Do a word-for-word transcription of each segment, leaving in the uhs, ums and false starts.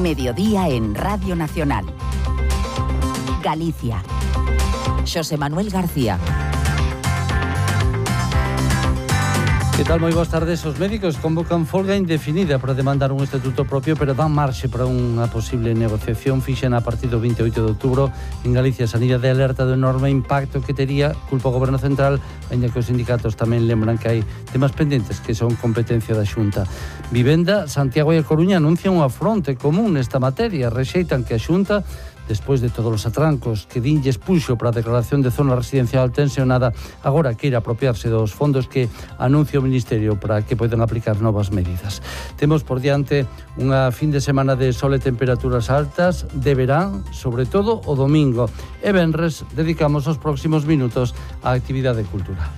Mediodía en Radio Nacional. Galicia. Xosé Manuel García. Que tal? Moi boas tardes. Os médicos convocan folga indefinida para demandar un estatuto propio, pero dan marxe para unha posible negociación fixen a partir do veinte e oito de outubro. En Galicia, a sanidade alerta do enorme impacto que tería, culpa o Goberno Central, ainda que os sindicatos tamén lembran que hai temas pendentes que son competencia da Xunta. Vivenda, Santiago e a Coruña anuncian unha fronte común nesta materia. Rexeitan que a Xunta, despois de todos os atrancos que dinlles puxo para a declaración de zona residencial tensionada, agora queira apropiarse dos fondos que anuncia o Ministerio para que poidan aplicar novas medidas. Temos por diante unha fin de semana de sol e temperaturas altas, de verán, sobre todo o domingo, e venres dedicamos os próximos minutos á actividade cultural.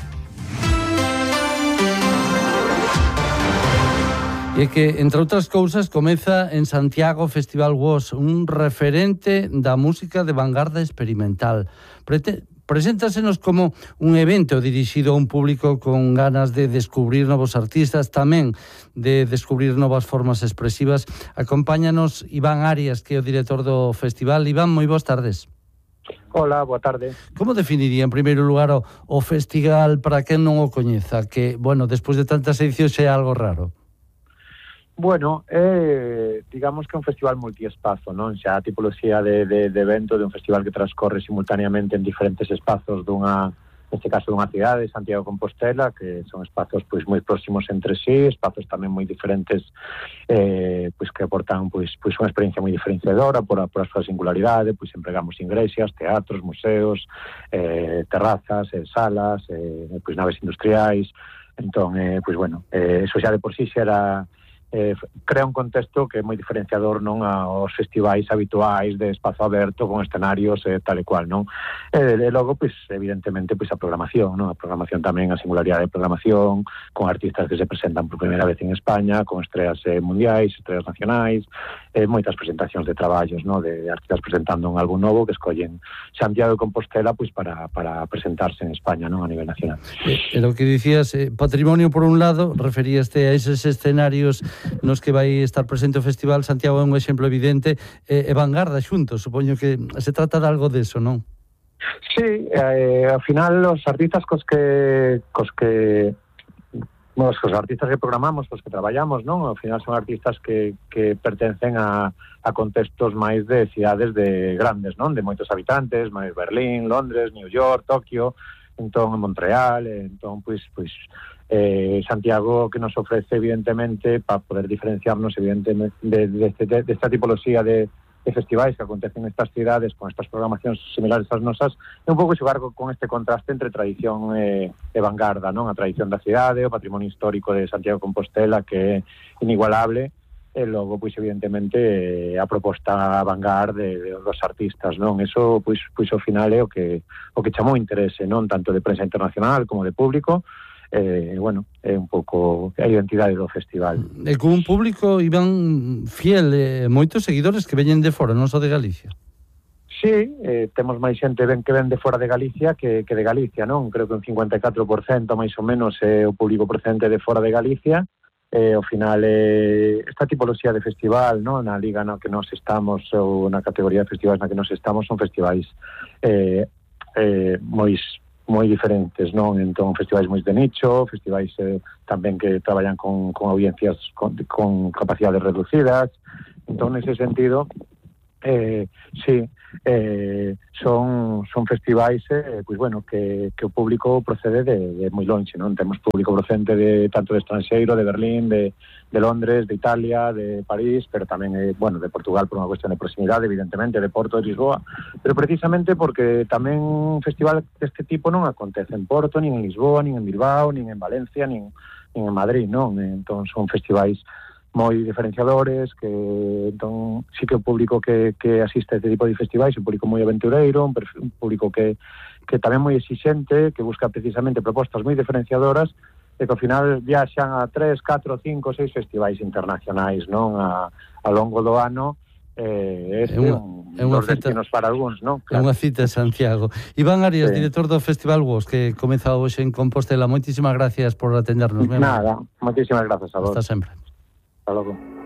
E que, entre outras cousas, comeza en Santiago o Festival Woz, un referente da música de vanguarda experimental. Prete- Preséntasenos como un evento dirixido a un público con ganas de descubrir novos artistas, tamén de descubrir novas formas expresivas. Acompáñanos Iván Arias, que é o director do festival. Iván, moi boas tardes. Hola, boa tarde. Como definiría, en primeiro lugar, o, o festival para quen non o coñeza? Que, bueno, despois de tantas edicións é algo raro. Bueno, eh, digamos que é un festival multiespazo, non? Xa a tipoloxía de, de, de evento de un festival que transcorre simultaneamente en diferentes espazos dunha, neste caso dunha cidade, Santiago de Compostela, que son espazos pois moi próximos entre sí, espazos tamén moi diferentes, eh, pois que aportan pois pois unha experiencia moi diferenciadora por a, por a súa singularidade, pois empregamos igrexas, teatros, museos, eh, terrazas, eh, salas, eh, pois naves industriais. Entón, eh, pois bueno, eh, eso xa de por sí xa era Eh, crea un contexto que é moi diferenciador non aos festivais habituais de espazo aberto con escenarios eh, tal e cual, non? E, e logo, pois, evidentemente, pois a programación, non? A programación tamén, a singularidade de programación, con artistas que se presentan por primeira vez en España, con estreas eh, mundiais, estreas nacionais, eh, moitas presentacións de traballos, non? De, de artistas presentando un álbum novo que escollen Santiago de Compostela, pois, para, para presentarse en España, non? A nivel nacional. E, e lo que dicías, eh, patrimonio por un lado, referíaste a eses escenarios nos que vai estar presente o Festival. Santiago é un exemplo evidente, e, e vanguarda xuntos, supoño que se trata de algo deso, non? Sí, eh, ao final os artistas cos que cos que bueno, os artistas que programamos, os que traballamos, non? Ao final son artistas que, que pertencen a, a contextos máis de cidades de grandes, non? De moitos habitantes, máis Berlín, Londres, New York, Tokio, entón en Montreal, entón pois pois eh, Santiago, que nos ofrece evidentemente para poder diferenciarnos evidentemente de, de, de, de esta tipoloxía de, de festivais que acontecen nestas cidades con estas programacións similares ás nosas, é un pouco xogar con este contraste entre tradición e, e vanguarda, non? A tradición da cidade, o patrimonio histórico de Santiago de Compostela, que é inigualable, e logo, pois, evidentemente, a proposta vanguard de, de dos artistas, non? Eso, pois, pois, ao final é o que o que chamou interese, non? Tanto de prensa internacional como de público. Eh, bueno, é un pouco a identidade do festival. E con un público, Iván, fiel, eh, moitos seguidores que veñen de fora, non só de Galicia. Sí, eh, temos máis xente ben que ven de fora de Galicia que, que de Galicia, non? Creo que un cincuenta e catro por cento máis ou menos é o público procedente de fora de Galicia. Eh, ao final, eh, esta tipoloxía de festival, non? Na liga na que nos estamos, ou na categoría de festivais na que nos estamos, son festivais eh, eh, moi moi diferentes, non? Entón, festivais moi de nicho, festivais eh, tamén que traballan con, con audiencias con, con capacidades reducidas. Entón, nese sentido, eh, sí, eh, son son festivais eh, pois bueno, que, que o público procede de, de moi longe, non? Temos público procedente de tanto de estranxeiro, de Berlín, de, de Londres, de Italia, de París, pero tamén eh, bueno, de Portugal por unha cuestión de proximidade, evidentemente, de Porto, de Lisboa, pero precisamente porque tamén un festival deste tipo non acontece en Porto, nin en Lisboa, nin en Bilbao, nin en Valencia, nin, nin en Madrid, non? Entón son festivais moi diferenciadores, que entón sí que o público que, que asiste a este tipo de festivais é un público moi aventureiro, un, perfil, un público que, que tamén moi exixente, que busca precisamente propostas moi diferenciadoras e que ao final viaxan a tres, catro, cinco, seis festivais internacionais, non? A, a longo do ano. Eh, este é un, é unha dos cita, destinos para algúns, non? Claro. É unha cita en Santiago. Iván Arias, sí, director do Festival Woz, que comeza hoxe en Compostela. Moitísimas gracias por atendernos. Nada, moitísimas gracias a vos. Hasta sempre. Hasta logo.